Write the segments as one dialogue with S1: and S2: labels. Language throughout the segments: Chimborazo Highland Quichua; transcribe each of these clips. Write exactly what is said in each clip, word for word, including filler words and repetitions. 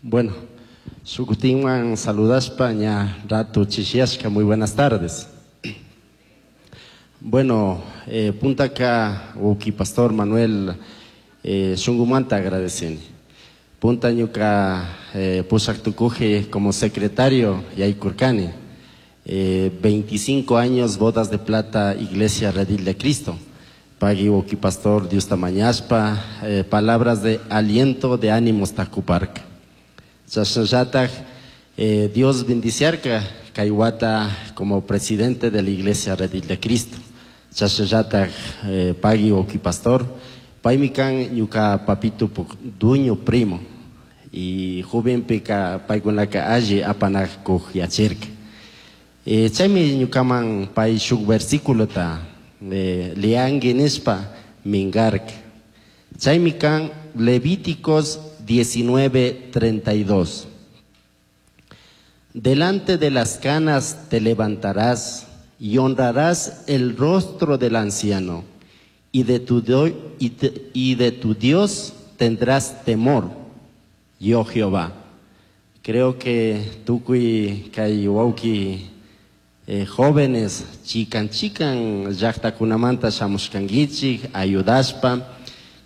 S1: Bueno, shukutinwan saludaspa ña ratu chishiashka, muy buenas tardes. Bueno, eh, puntaka wawki pastor Manuel eh, shungumanta agradeceni. Punta ñuka eh, pushak tukuji como secretario yaykurkani. Eh, veinticinco años bodas de plata Iglesia Redil de Cristo. Pagui wawki pastor Diosta mañashpa, eh, palabras de aliento, de ánimos takuparka. Chashnallataj eh, Dios bendiciarka kay wata como presidente de la Iglesia Redil de Cristo. Chashnallataj eh, pagui wawki pastor, paymi kan ñuka papito puk dueño primo y jovenpika paykunaka alli apanakuj yachirka. Eh, chaymi ñukaman pay shuk versículota eh, leangi nishpa mingarka. Chaymi kan Levíticos diecinueve treinta y dos. Delante de las canas te levantarás y honrarás el rostro del anciano, y de tu do-, y te, y de tu Dios tendrás temor, yo Jehová. Creo que tukuy kay wawki, eh, jóvenes chikan chikan llaqtakunamanta shamushkankichik ayudashpa,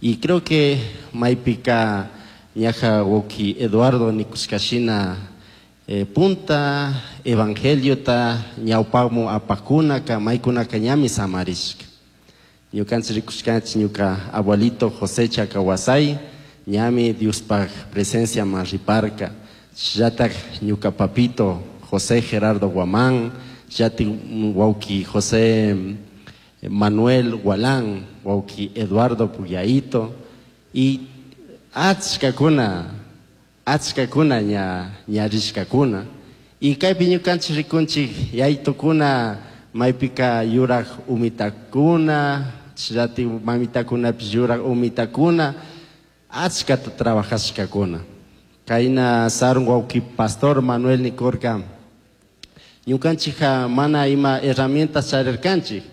S1: y creo que maypika ñaja wawki Eduardo nikushkashina, eh, punta evangeliota ñawpaqmu apakunaka maykunaka ñami samarishka. Ñukanchik rikushkanchik ñuka abuelito José Chacawasay ñami Diospaj presencia man riparka. Llatak ñuka papito José Gerardo Guamán, llatik wawki José Manuel Gualán, wawki Eduardo Puyaito, y achkakuna, achkakuna ña, ña rishkakuna. Y kaypi ñukanchik rikunchik yaytukuna maypika yuraq umitakuna, llatik mamitakunapish yuraq umitakuna, achkata trabajashkakuna. Kayna sarun wawki pastor Manuel nikurka, ñukanchikja mana ima herramientas charirkanchik.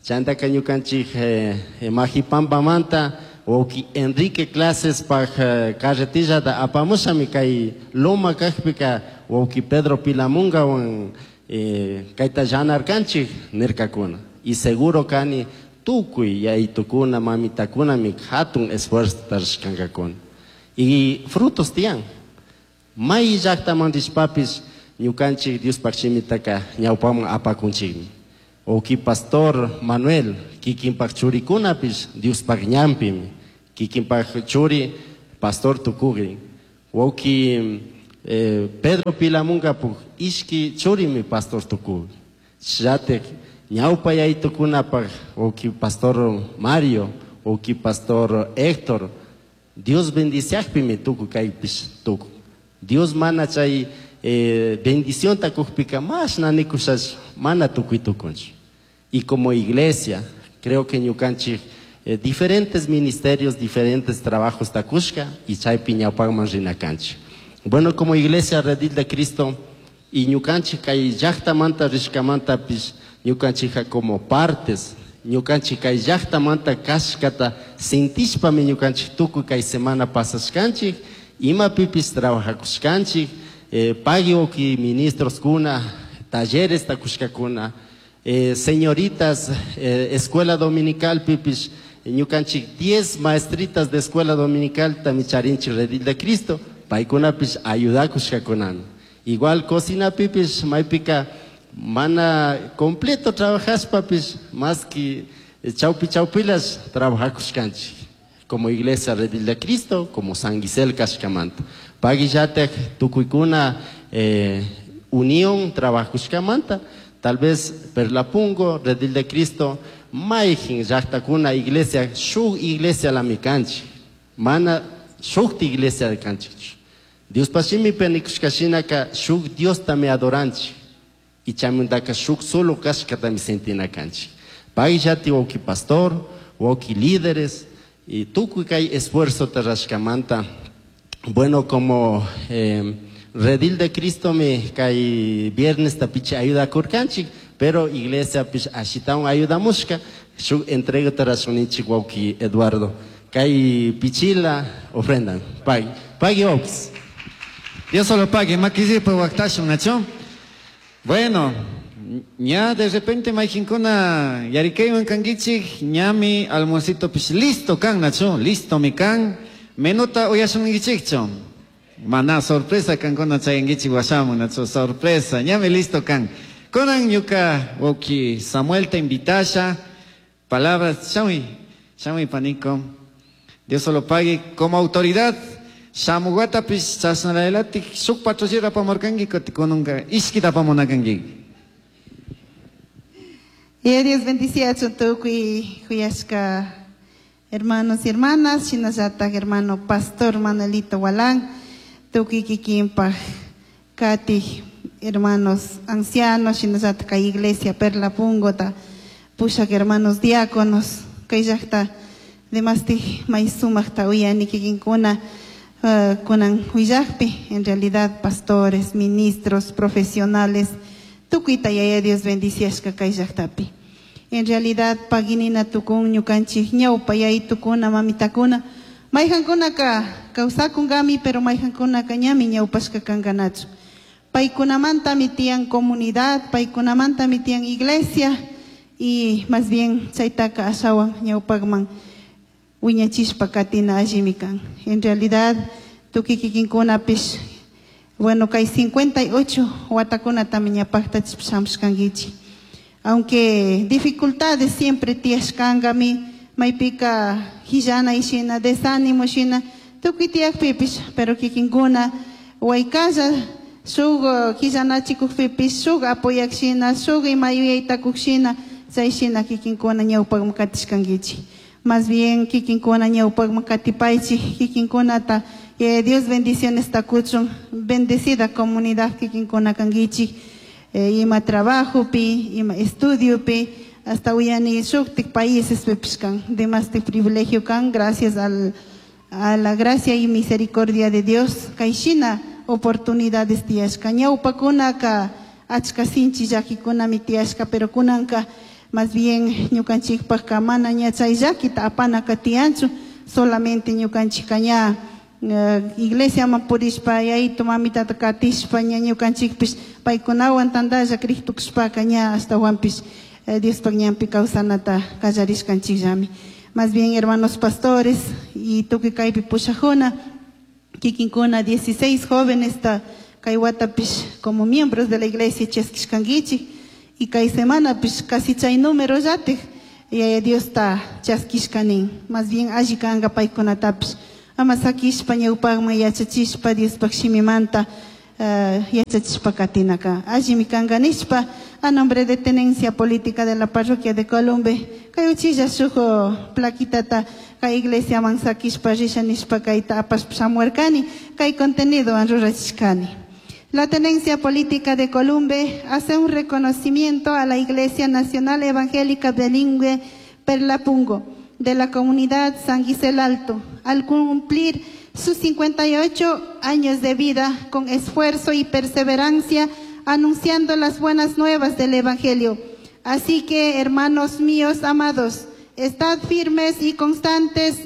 S1: Chantaka ñukanchik, eh, eh, Majipampamanta wawki Enrique Clases paj, eh, carretillata apamushami kay loma kajpika wawki Pedro Pilamungawan, eh, kayta llanarkanchik nirkakuna. Y seguro kani tukuy yaytukuna mamitakunami hatun esfuerzo tarishkankakuna. Y frutos tiyan. May llaqtaman rishpapis ñukanchik Diospaj shimitaka ñawpaman apakunchikmi. Wawki pastor Manuel kikinpaj churikunapis Diospaj ñanpimi. Kikinpaj churi pastor tukugrin. Wawki, eh, Pedro Pilamungapuj ishki churimi pastor tukugrin. Llatek ñawpa yaytukunapaj wawki pastor Mario, wawki pastor Héctor, Dios bendiciajpimi tukuy kaypis tukun. Dios mana chay, eh, bendición takujpika mas nanikushash mana tukuy tukunchu. Y como iglesia, creo que ñukanchik, eh, diferentes ministerios, diferentes trabajos takushka y chaypi ñawpaqman rinakanchik. Bueno, como iglesia Redil de Cristo y ñukanchik kay llaqtamanta rishkamantapis ñukanchikja como partes, ñukanchik kay llaqtamanta kashkata sintishpami ñukanchik tukuy kay semana pasashkanchik, imapipis trabajakushkanchik, eh, pagui wawki ministros kuna, talleres takushkakuna, eh, señoritas, eh, escuela dominical pipis, ñukanchik diez maestritas de escuela dominical tamicharinchik Redil de Cristo, paykunapis ayudakushkakunami. Igual cocina pipis, maypika mana completo trabajaspapis, más que chaupi chaupilas trabajakushkanchik. Como iglesia Redil de Cristo, como San Gisel kashkamanta. Paguillatek tukuykuna, eh, unión trabajushkamanta, tal vez Perlapungo, Redil de Cristo, mayjin llaqtakuna iglesia, shuk iglesia lamikanchik, mana shukti iglesia kanchik. Dios pashimi penikushkashinaka shuk Dios tami adoranchik, y chamundaka shuk solo kashkatami sentinakanchik. Paguillati wawki pastor, wawki líderes, y tukuy kay esfuerzo tarashkamanta. Bueno, como, eh, Redil de Cristo me kay viernes tapiche ayuda kurkanchik, pero iglesia pich ashitaun ayuda mushka, shuk entrega tarashunichik wawki Eduardo. Kay pichila ofrenda. Pagui, pagui ops.
S2: Dios solo pague, makisipa waktashun, nacho. Bueno, ña de repente mayqinkuna yarikaywan kankichik, ñami almuercito pish listo kan, nacho, listo mi kan. Menuta uyashunkichikchu. Mana sorpresa kankuna chayankichik washamun, nacho, sorpresa, ñami listo kan. Kunan ñuka wawki Samuel te invitasha, palabras, shamuy, shamuy paniko. Dios solo pague como autoridad. Shamuwatapish chashnalailatik shuk patrullera apamurkanki kutin kunanka ishkita apamunakanki.
S3: Y Dios bendiciachun tukuy kuyashka hermanos y hermanas, shinallatak hermano pastor Manuelito Walán, tukuy kikinpaj kati hermanos ancianos, shinallatak kay iglesia Perla Pungota, pushak hermanos diáconos, kay llaqta demastih may sumaqta uyani kikinkuna uh, kunan huillaqpi, en realidad pastores, ministros, profesionales, tukuyta yaya Dios bendiciashka kay llaqtapi. En realidad paginina tukun ñukanchik ñawpa yaytukuna mamitakuna mayqankunaka kawsakunkami pero mayqankunaka ñami ñawpashka kankanachu. Paykunamantami tiyan comunidad, paykunamantami tiyan iglesia y más bien chaytaka ashawan ñawpaqman wiñachishpa katina allimi kan. En realidad tukuy kikinkunapish bueno kay cincuenta y ocho watakunatami ñapaqtachishpa shamushkankichik. Aunque dificultades siempre tiyashkankami, maypika hillana ishina, desánimo shina, tukuy tiyakpipish, pero kikinkuna waykalla shuk hillanachikukpipish, shuk apoyak shina, shuk ima yuyaytakuk shina, chay shina kikinkuna ñawpaqman katishkankichik. Más bien kikinkuna ñawpaqman katipaychik, kikinkunata, eh, Dios bendiciones takuchun, bendecida comunidad kikinkuna kankichik. Eh, ima trabajo pi, ima estudio pi, hasta uyani shuktik países pipish kan, demasti privilegio kan, gracias al, a la gracia y misericordia de Dios, kay shina oportunidades tiyashka, ñawpakunaka achka sinchi llakikunami tiyashka, pero kunanka más bien ñukanchikpajka mana ña chay llakita apanaka tiyanchu, solamente ñukanchikka ña, eh, iglesiaman purishpa yayito mamitata katishpa ña ñukanchikpish paykunawan tantalla kriktukushpaka ña ashtawanpish, eh, Diospaj ñanpi kawsanata kallarishkanchikllami. Más bien hermanos pastores y tukuy kaypi pushajuna kikinkuna dieciséis jóvenes ta kay watapish como miembros de la iglesia chaskishkankichik y kay semanapish casi chay número llatik yaya Diosta chaskishkanin. Más bien alli kanka paykunatapish ama sakishpa ñawpaqman yachachishpa Diospaj shimimanta, eh, yachachishpa katinaka. Allimi kanka nishpa a nombre de Tenencia Política de la Parroquia de Columbe kay uchilla shuk plaquitata kay iglesiaman sakishpa risha nishpa kayta apashpa shamuarkani kay contenido an rurachishkani. La Tenencia Política de Columbe hace un reconocimiento a la Iglesia Nacional Evangélica Bilingüe Perlapungo de la comunidad San Gisel Alto, al cumplir sus cincuenta y ocho años de vida con esfuerzo y perseverancia, anunciando las buenas nuevas del Evangelio. Así que, hermanos míos amados, estad firmes y constantes,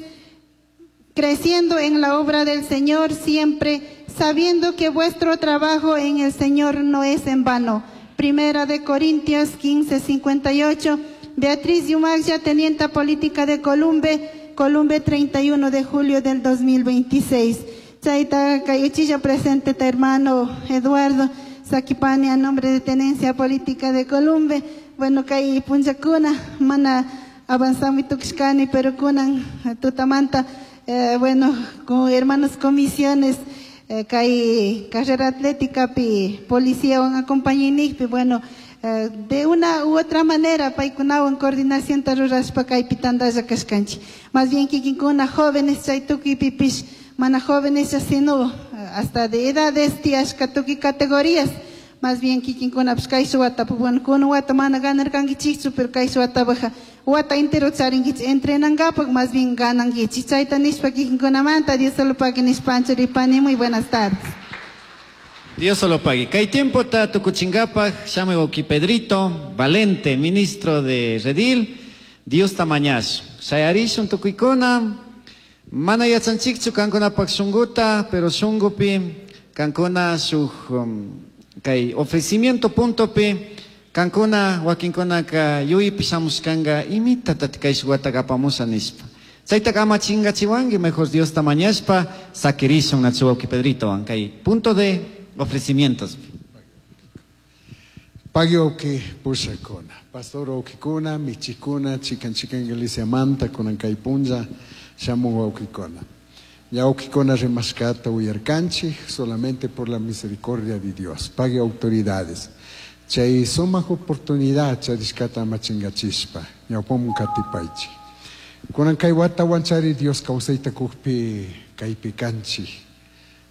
S3: creciendo en la obra del Señor siempre, sabiendo que vuestro trabajo en el Señor no es en vano. Primera de Corintios quince, cincuenta y ocho. Beatriz Yumagya, tenienta política de Columbe, Columbe treinta y uno de julio del dos mil veintiséis. Chaita Cayuchilla presente, ta hermano Eduardo Saquipani, a nombre de Tenencia Política de Columbe. Bueno, kay punchakuna, mana avanzami tuxcani, pero kunan tutamanta, eh, bueno, con hermanos comisiones, eh, kay carrera atlética pi policía wan acompañinikpi, bueno, eh, de una u otra manera paykunawan coordinación tarurashpa kaypi tantalla kashkanchik. Más bien kikinkuna jóvenes chay tukuypipish, mana jóvenes sino hasta de edades tiyashka tukuy categorías. Más bien kikinkuna pues kay suwata, pues, bueno, kuna wata mana ganarkankichikchu, pero kay suwata baja wata entero charinkichik entrenankapak, más bien ganankichik. Chayta nishpa kikinkunamanta, Dios solo pague nishpa anchuripani. Muy buenas tardes.
S2: Dios solo pague. Kay tiempo ta tukuchingapaj, shamuy wawki Pedrito Valente, ministro de Redil, Dios tamañash. Shayarishun tukuykuna, mana yachanchikchu kankunapaj shunguta, pero shungupi Kankuna shuk um, kay ofrecimiento puntopi kankuna wakinkunaka yuypi shamushkanka imitatati kay shuk wataka apamusha nishpa. Chaytaka ama chingachiwanki, mejor Diosta mañashpa sakirishun nachu wawki Pedritowan kay punto de ofrecimientos.
S4: Pagui wawki pushakuna, pastor wawkikuna, michikuna, chikan chikan iglesiamanta kunan kay punlla shamun wawkikuna. Ña wawkikuna rimashkata uyarkanchik solamente por la misericordia de Dios. Pagui autoridades. Chay sumak oportunidad charishkata ama chingachishpa, ñawpamun katipaychik. Kunan kay watawan chari Dios kawsayta kukpi kaypi kanchik.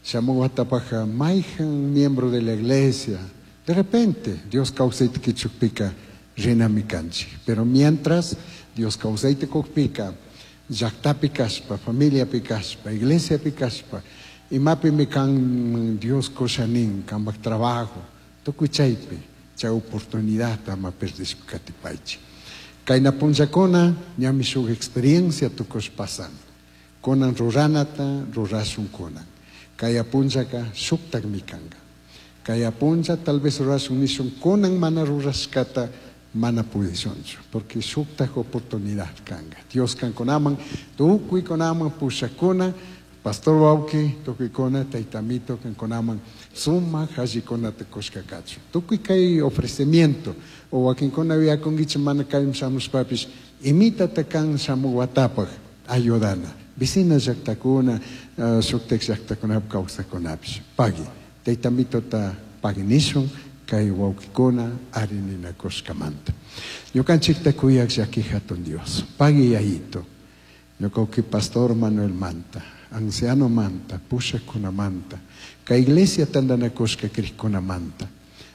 S4: Shamun watapaka mayhan miembro de la iglesia, de repente Dios kawsayta kichukpika rinami kanchik. Pero mientras Dios kawsayta kukpika, llaqtapi kashpa, familiapi kashpa, iglesiapi kashpa, imapimi kan Dios kushanin, kanpak trabajo, tukuy chaypi, chay oportunidad ama perdishpa katipaychik. Kayna punllakuna ñami shuk experiencia tukush pasan. Kunan ruranata rurashun kunan. Kaya punllaka shuktakmi kanka. Kaya punlla tal vez rurashun nishun kunan mana rurashkata mana pudishunchu, porque shuktak oportunidad kanka. Dios kankunaman, tukuykunaman pushakuna, pastor wawki, tukuykuna, taytamito kankunaman, sumak allikunata kushka kachun. Tukuy kay ofrecimiento, o wakinkuna yuyakunkichik mana kayman shamushpapish, imitata kan shamuk watapaj ayudana. Vecina llaqtakuna, uh, shuktak llaqtakunapi kawsaqkunapish. Pagui, taytamitota pagui nishun, kay wawkikuna arininakushkamanta. Ñukanchikta kuyak llaki hatun Dios. Pagui yayito. Ñuka pastor Manuel Manta, anciano manta, pushakunamanta, kay iglesia tantanakushka krikkunamanta.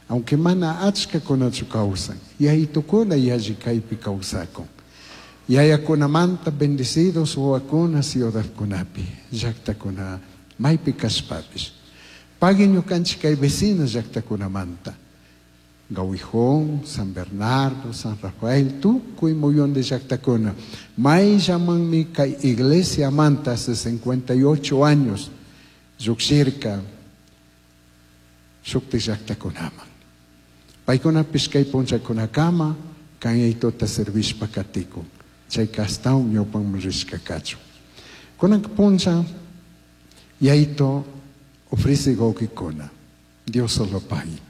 S4: Aunque mana achkakunachu kawsan, yayitukuna yalli kaypi kawsakun. Yayakunamanta bendecidos wawakuna ciudadkunapi, llaqtakuna maypi kashpapish. Pagui ñukanchik kay vecina llaqtakunamanta. Gawijón, San Bernardo, San Rafael, tukuy muyun de llaqtakuna. May llamanmi kay iglesia manta hace cincuenta y ocho años llukshirka shukti llaqtakunaman. Paykunapish kay punllakunakama kanyaytuta servishpa katikun. Chayka astawan ñawpanman rishka kachun. Kunan punlla yayto ofrece wawkikuna. Dios solo pagui.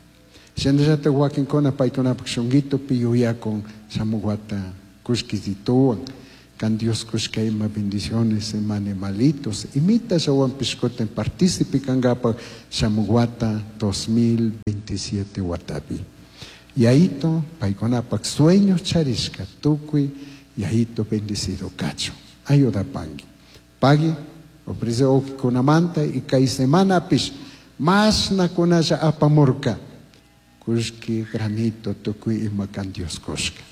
S4: Shinallata wakinkuna paykunapak shunguitopi yuyakun shamuk wata kushkisituwan, kan Dios kushka ima bendiciones, ima animalitos, imita shawanpish kutin partícipe kankapak shamuk wata dos mil veintisiete watapi. Yayito paykunapak sueños charishka tukuy yayito bendecido kachun. Ayudapanki. Pagui, ofrece wawkikunamanta y kay semanapish mashna kunalla apamurka. Kushki granito tukuy ima kan Dios kushka.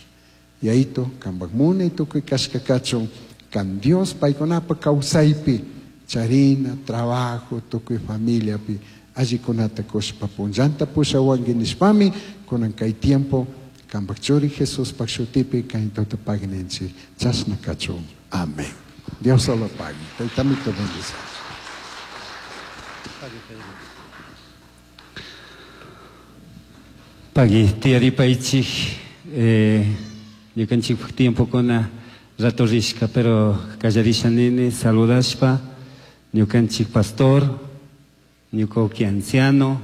S4: Yayito kanpak munay tukuy kashka kachun, kan Dios paykunapa kawsaypi charina, trabajo, tukuy familiapi allikunata kushpa punllanta pushawanki nishpami kunan kay tiempo kanpak churi Jesuspak shutipi kaytota pagninchik chashna kachun. Amén. Dios solo pague. Taytamito bendice.
S2: Pagui, tiyaripaychik, eh, ñukanchikpak tiempokuna rato rishka, pero kallarisha nini saludashpa, ñukanchik pastor, ñuka anciano,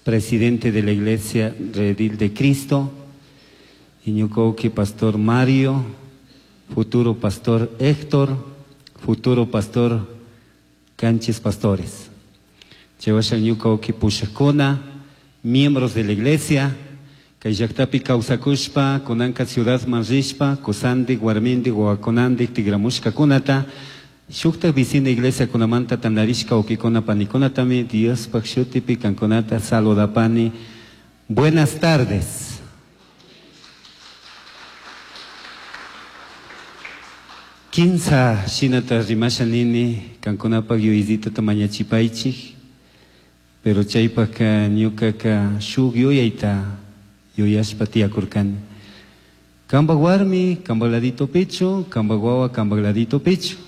S2: presidente de la Iglesia Redil de Cristo, y ñuka pastor Mario, futuro pastor Héctor, futuro pastor Canchis Pastores. Chewasha ñuka pushakuna, miembros de la iglesia, kay llaqtapi kawsakushpa, kunanka ciudad manrishpa, kusandik, warmindik, wawakunandik, tigramushkakunata, shuktak vecina iglesia kunamanta tandarishka wawkikuna panikunatami, Diospaq shutipi kankunata saludapani. Buenas tardes. Kinsa shinata rimasha nini, kankunapaq yuyaytita mañachipaychik, pero chaypaqka ñukaka shuk yuyayta yuyashpa tiyakurkani. Kanpak warmi, kanpak ladito pecho, kanpak wawa, kanpak ladito pecho.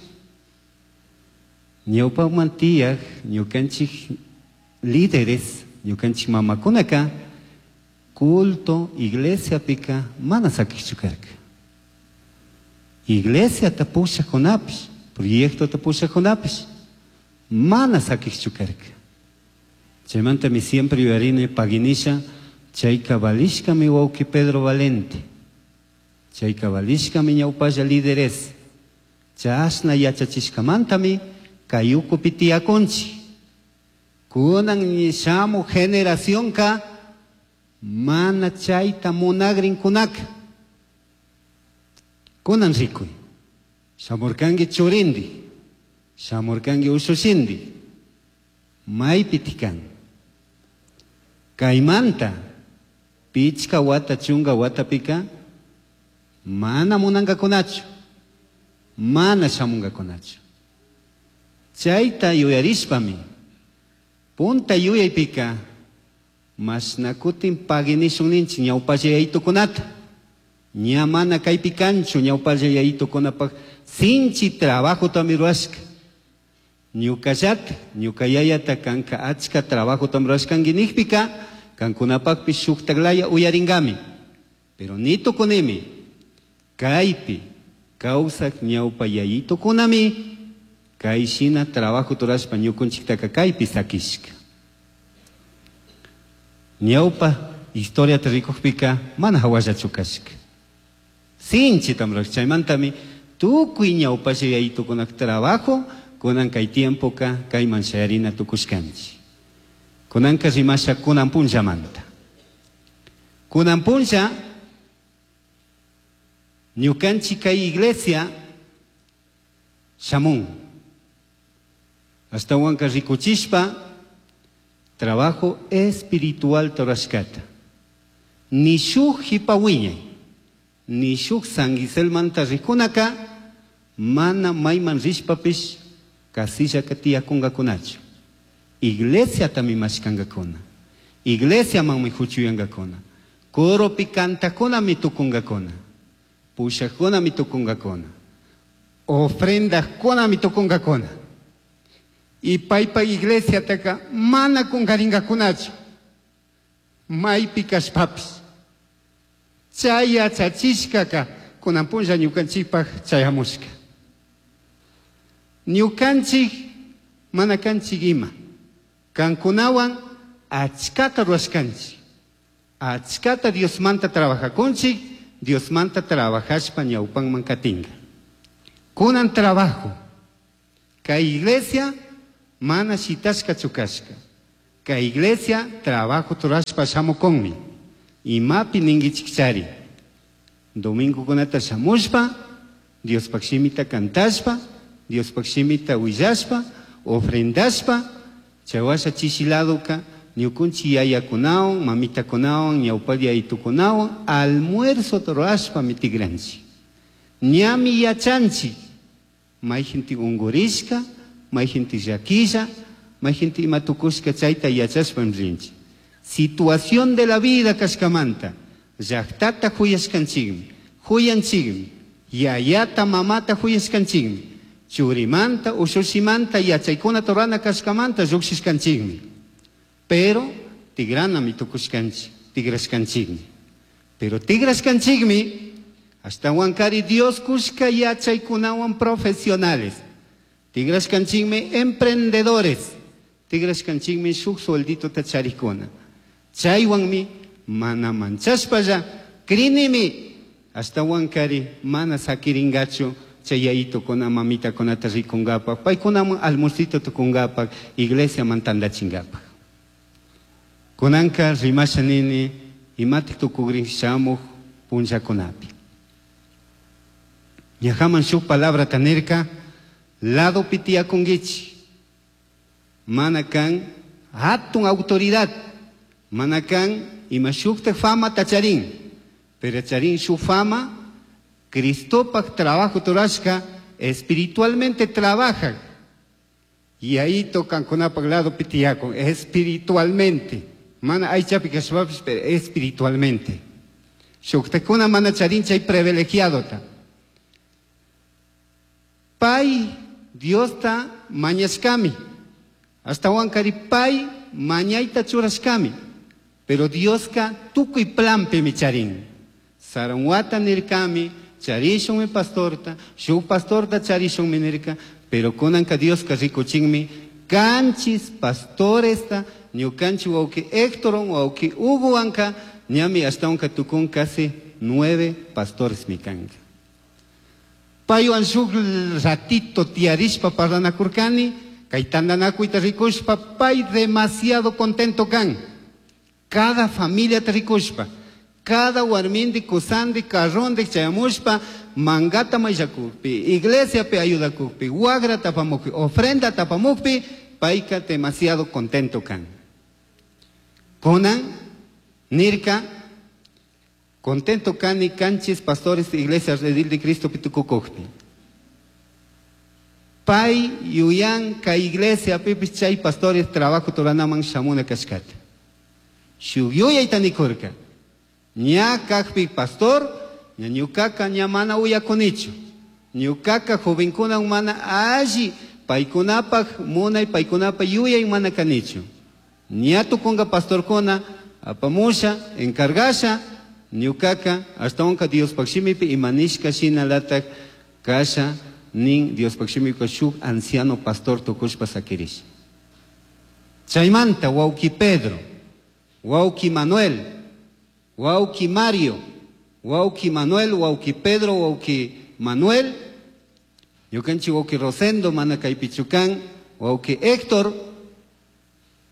S2: Ñawpaqman tiyaq ñukanchik Líderes, ñukanchik mamakunaka culto iglesiapika mana sakiqchu karka. Iglesiata pushaqkunapish, proyectota pushaqkunapish mana sakiqchu karka. Chaymantami siempre yuyarini paginisha chayka valishkami wawqi Pedro Valente. Chayka valishkami ñawpalla líderes. Chashna yachachishkamantami kay ukupi tiyakunchik. Kunan shamuq generacionka mana chayta munagrinkunaka. Kunan rikuy. Shamurkanki churindi, shamurkanki ushushindi. Maypi tikan. Kaymanta pichka wata chunka watapika mana munankakunachu, mana shamunkakunachu. Chayta yuyarishpami punta yuyaypika mashna kutin paginishun ninchik ñawpalla yayitukunata. Ña mana kaypi kanchu ñawpalla yayitukunapaq sinchi trabajotami rurashka. Ñukallata, ñuka yayata kanka achka trabajotami rurashkanki nijpika kankunapaqpish shuktaklaya uyaringami. Pero ni tukunimi kaypi kawsak ñawpa yayitukunami kay shina trabajo rurashpa ñukunchiktaka kaypi sakishka. Ñawpa historiata rikukpika mana hawallachu kashka. Sinchitam rurashka. Chaymantami tukuy ñawpalla yayitukunak trabajo kunan kay tiempoka kayman shayarina tukushkanchik. Kunanka rimasha kunan punllamanta. Kunan punlla ñukanchik kay iglesia shamun. Ashtawanka rikuchishpa trabajo espiritual rurashkata. Ni shuk hipa wiñay, ni shuk San Giselmanta rikunaka mana mayman rishpapish kasillaka tiyakunkakunachu. Iglesiatami mashkankakuna. Iglesiamanmi huchuyankakuna. Coropi kantakunami tukunkakuna. Pushaqkunami tukunkakuna. Ofrendaqkunami tukunkakuna. Y paypa iglesiataka mana kunkarinkakunachu. Maypi kashpapis. Chay yachachishkaka kunan punlla ñukanchikpaq chayamushka. Ñukanchik mana kanchik ima. Kankunawan achkata rurashkanchik. Achkata Diosmanta trabajakunchik, Diosmanta trabajashpa ñawpanman katinka. Kunan trabajo. Kay iglesia mana shitashkachu kashka. Kay iglesia trabajo rurashpa shamukunmi. Imapi ninkichikchari. Domingokunata shamushpa, Diospaq shimita kantashpa, Diospaq shimita willashpa, ofrendashpa, chaywasha chishiladuka ñukunchik yayakunawan, mamitakunawan, ñawpal yayitukunawan, almuerzo rurashpa mitigranchik. Ñami yachanchik, mayjintik unkurishka, mayjintik llakilla, mayjintik ima tukushka chayta yachashpami rinchik. Situación de la vida kashkamanta, llaqtata huyashkanchikmi, huyanchikmi, yayata mamata huyashkanchikmi, churimanta, ushushimanta, yachaykunata rurana kashkamanta lluqshishkanchikmi. Pero tigranami tukushkanchik, tigrashkanchikmi. Pero tigrashkanchikmi, ashtawankari Dios kushka yachaykunawan profesionales. Tigrashkanchikmi emprendedores. Tigrashkanchikmi shuk suelditota charikuna. Chaywanmi mana manchashpalla crinimi ashtawankari mana sakiringachu chay yayitukuna mamitakunata rikunkapak, paykunaman almuercito tukunkapak, iglesiaman tantachinkapak. Kunanka rimasha nini imatik tukugrin shamuq punllakunapi. Ñajaman shuk palabrata nirka, ladopi tiyakunkichik. Mana kan hatun autoridad, mana kan ima shuktak famata charin, pero charin su fama, Cristopak trabajo rurashka, espiritualmente trabaja. Y ahí tocan con lado pitiyakun, espiritualmente. Mana aychapi kashpapish, pero espiritualmente. Shuktakuna mana charin chay privilegiado ta. Pay Diosta mañashkami.
S5: Ashtahuankari pay mañayta churashkami. Pero Dioska tukuy planpimi charin. Saranwata nirkami, charishunmi pastorta, shuk pastorta charishunmi nirka, pero kunanka Dioska rikuchinmi kanchis pastoresta ñukanchik wawki Héctoron, wawki Hugowanka ñami ashtawanka tukun casi nueve pastoresmi kanka. Paywan shuk ratito tiyarishpa parlanakurkani, kay tantanakuyta rikushpa pay demasiado contento kan. Cada familiata rikushpa, cada warmindi, kusandi, carrondi chayamushpa, mangata mayllakukpi, iglesiapi ayudakukpi, wagra tapamukpi, ofrenda tapamukpi, payka demasiado contento kan. Kunan nirka, contento kani kanchis pastores de iglesia Redil de Cristo pitukukukpi. Pay yuyan ka iglesia pipis chay pastores trabajo turanaman shamuna kashkata. Shuk yuyayta nikurka. Ña kakpi pastor, ña ñukaka ña mana uyakunichu. Ñukaka jovenkuna mana alli paykunapaj munay paykunapaj yuyay mana kanichu. Ña tukunga pastorkuna apamusha, encargasha, ñukaka ashtawanka Diospaj shimipi imanishka shinalatak kasha nin Diospaj shimipika shuk anciano pastor tukushpa sakirisha. Chaymanta wawki Pedro, wawki Manuel, wawki Mario, wawki Manuel, wawki Pedro, wawki Manuel, ñukanchik wawki Rosendo, mana kaypichu kan, wawki Héctor,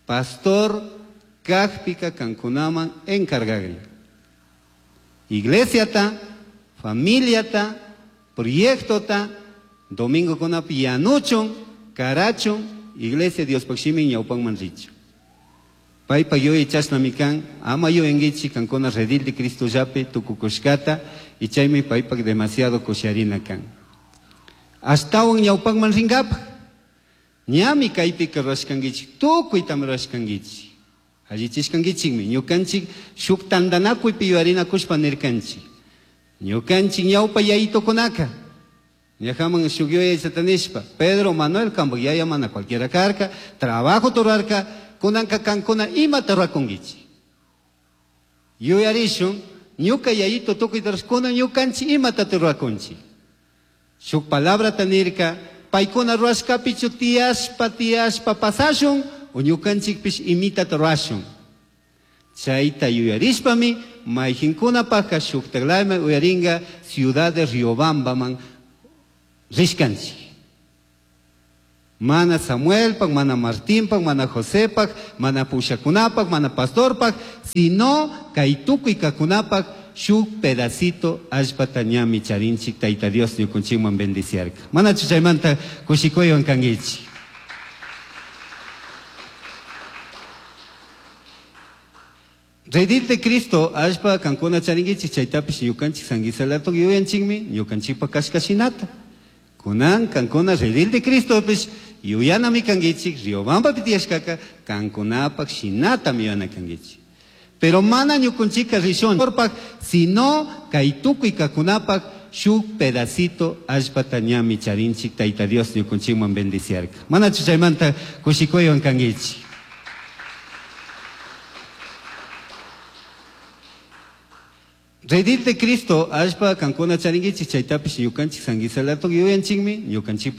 S5: pastor kajpika kankunaman encargagrin. Iglesiata, familiata, proyectota, domingo kunapi yanuchun, karachun, iglesia Diospaj shimi ñawpanman richun. Paypa yuyay chashnami kan, ama yuyankichik kankuna redil de Cristo llapi tukukushkata, y chaymi paypak demasiado kusharina kan. Ashtawan ñawpanman rinkapaj, ñami kaypika rurashkankichik, tukuytami rurashkankichik. Allichishkankichikmi, ñukanchik shuk tantanakuypi yuyarinakushpa nirkanchik. Ñukanchik ñawpa yayitukunaka, ñajaman shuk yuyay satanishpa, Pedro Manuel kampak yaya mana cualquiera karka, trabajo turarka, kunanka kankuna imata rurakunkichik. Yuyarishun, ñuka yayito tukuyta rurashkuna, ñukanchik imata rurakunchik. Shuk palabrata nirka, paykuna rurashkapichu tiyashpa, tiyashpa pasashun, o ñukanchikpish imitata rurashun. Chayta yuyarishpami, mayqinkunapajka shuktaklayman uyarinka ciudad de Riobambaman rishkanchik. Mana Samuelpak, mana Martinpak, mana Josepak, mana pushakunapak, mana pastorpak, sino kay tukuy kakunapak shuk pedacito allpata ñami charinchik Tayta Dios ñukunchikman bendiciarka. Manachu chaymanta kushikuywan kankichik. Redil de Cristo, allpa kankuna charinkichik, chaytapish ñukanchik sanguisalatok yuyanchikmi, ñukanchikpa kashkashinata. Kunan kankuna redil de Cristo pish yuyanami kankichik, Riobamba pitiyashkaka, kankunapak shinatami yuyana kankichik. Pero mana ñukunchika rishun porpak, sino kay tukuy kakunapak shuk pedacito allpata ñami charinchik Tayta Dios ñukunchikman bendiciarka. Manachu chaymanta kushikuywan kankichik. Redil de Cristo, allpa kankuna charinkichik, chaytapish ñukanchik sanguisalatok yuyanchikmi, ñukanchikpa